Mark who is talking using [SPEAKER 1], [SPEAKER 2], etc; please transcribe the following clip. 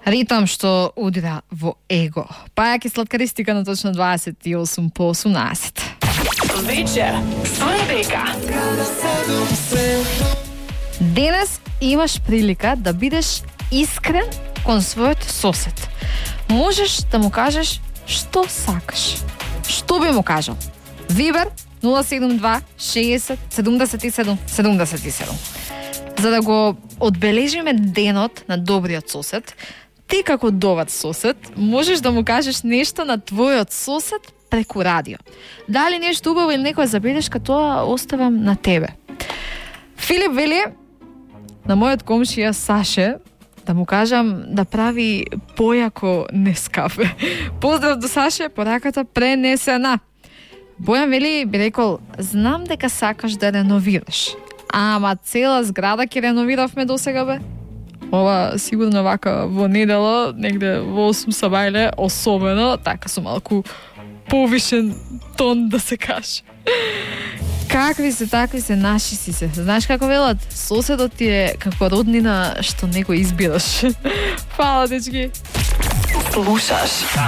[SPEAKER 1] Ритам што удира во его. Пајаки сладкаристика на точно 28 по 18.
[SPEAKER 2] Вечер со Ребека.
[SPEAKER 1] Денес имаш прилика да бидеш искрен кон својот сосед. Можеш да му кажеш што сакаш. Што би му кажал? Вибер 072 60 77 77. За да го одбележиме денот на добриот сосед, ти како добар сосед можеш да му кажеш нешто на твојот сосед преку радио. Дали нешто убаво или некоја забелешка, тоа оставам на тебе. Филип вели на мојот комшија Саше да му кажам да прави појако Нескафе. Поздрав до Саше, пораката пренесена. Бојан вели би рекол, знам дека сакаш да реновираш. Ама цела зграда ќе реновиравме досега бе. Ова сигурно вака во недела, негде во 8 сабајле, особено, така со малку повишен тон да се каже. Какви се, такви се, наши си се. Знаеш како велат? Соседот ти е како роднина што не го избираш. Фала, дечки.
[SPEAKER 2] Слушаш